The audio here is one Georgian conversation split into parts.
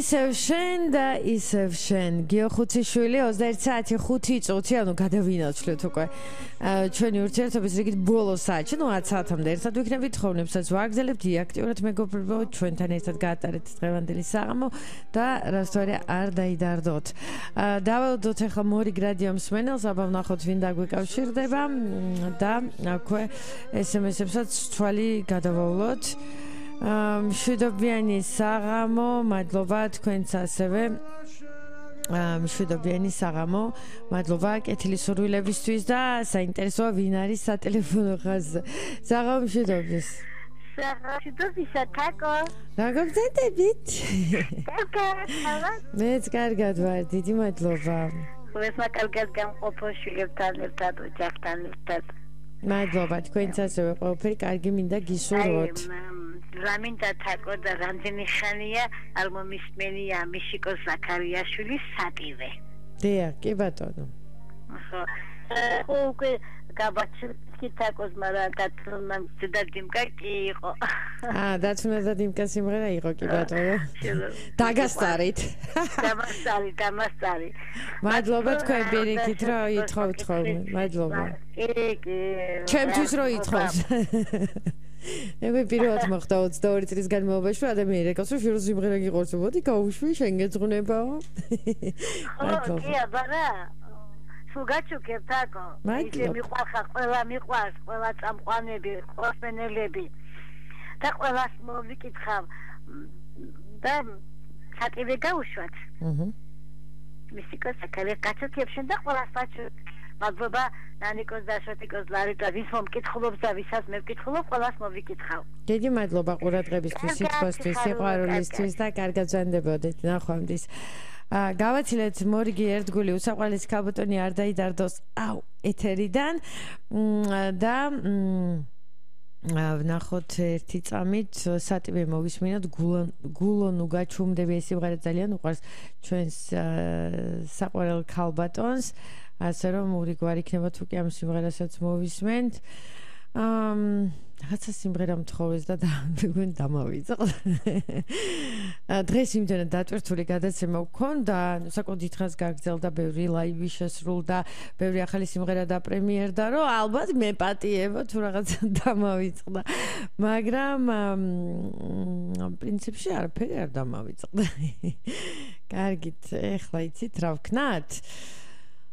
ისევ შენ და ისევ შენ გიო ხუციშვილი 21 საათი 5 წუთი ანუ გადავინაცვლეთ უკვე ჩვენი ურთიერთობის რიგით ბოლო საათში ნუ 10 საათამდე ერთად ვიქნებით ხოვნებსაც ვაგზელებთ აქტიურად მეგობრებო ჩვენთან ერთად გაატარეთ დღევანდელი საღამო და რასთვარი არ დაიდარდოთ დაველოდოთ ახლა მორიგ რადიო მსმენელს აბა ვნახოთ ვინ დაგვიკავშირდება და აქვე SMS-ებსაც თვალი გადავავლოთ მშვიდობიანი საღამო, მადლობა თქვენც ასევე მშვიდობიანი საღამო, მადლობა კეთილი სურვილებისთვის და საინტერესოა ვინ არის სატელეფონო ხაზზე. საღამო მშვიდობის. მშვიდობისა თაკო. როგორ გრძელდებით? კარგად. მეც კარგად ვარ, დიდი მადლობა. ყველასმა კარგად გამყოფო შვილებთან ერთად, ოჯახთან ერთად. მადლობა თქვენც ასევე ყველაფერი კარგი მინდა გისურვოთ. რამინდა თაკო და რამდენი ხანია არ მომისმენია მიშიკო ზაქარიაშვილის სატივე. დიახ, კი ბატონო. ხო, უკვე გაბაჩი თაკოს, მაგრამ დათუნა და დიმკა კი იყო. დათუნა და დიმკა სიმღერა იყო კი ბატონო. დაგასწარით. დამასწარი. მადლობა თქვენ პირიქით რომ ითხოვთ ხოლმე. მადლობა. კი. ჩემთვის რო ითხოვს. მე პირველად მოხდა 22 წლის განმავლობაში ადამიანი რეკავს რომ შენ სიმღერა გიყურს მოდი გაუშვი შენ გეძღვნებაო მადლობა კი აბარა სულგაჩუკებ თაკო ისე მიყვარხა ყველა მიყვარს ყველა წამყვანები ყოსმენელები და ყველას მოვიკითხავ და სატივე გაუშვათ მისიკოს აკალე კაცოქებშენ და ყველას ვაჩვენებ მადლობა ნანიკოს და შოტიკოს ლარიტა ვის მომკითხულობს და ვისაც მე ვკითხულობ ყველას მოვიკითხავ. დიდი მადლობა ყურადღებისთვის, სიტყვასთვის, სიყვარულისთვის და კარგად ვზანდებოდეთ ნახვამდის. გავაცილეთ მორიგი ერთგული უსაყვარლესი ქალბატონი არ დაიდარდოს ეთერიდან და ვნახოთ ერთი წამით სატივე მოვისმინოთ გულონ უგაჩუმდები ეს სიმღერა ძალიან უყვარს ჩვენს საყვარელ ქალბატონს ასე რომ ურიგვარი იქნება თუ კი ამ სიმღერასაც მოვისმენთ რაღაცა სიმღერა მთხოვეს და მეგონა დამავიწყდა დღეს იმდენად დატვირთული გადაცემა ვქონდა საკუთარ დღეს გაგრძელდა ბევრი ლაივი შესრულდა ბევრი ახალი სიმღერა დაპრემიერდა რომ ალბათ მე პატიება თუ რაღაცა დამავიწყდა მაგრამ პრინციპში არაფერი არ დამავიწყდა კარგით ეხლა იცით რა ვქნათ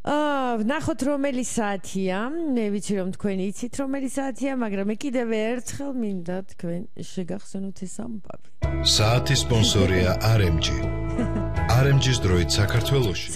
ვნახოთ რომელი საათია მე ვიცი რომ თქვენი იცით რომელი საათია მაგრამ მე კიდევ ერთხელ მინდა თქვენ შეგახსენოთ ეს ამბავი საათის სპონსორია RMG RMG-ს დროით საქართველოში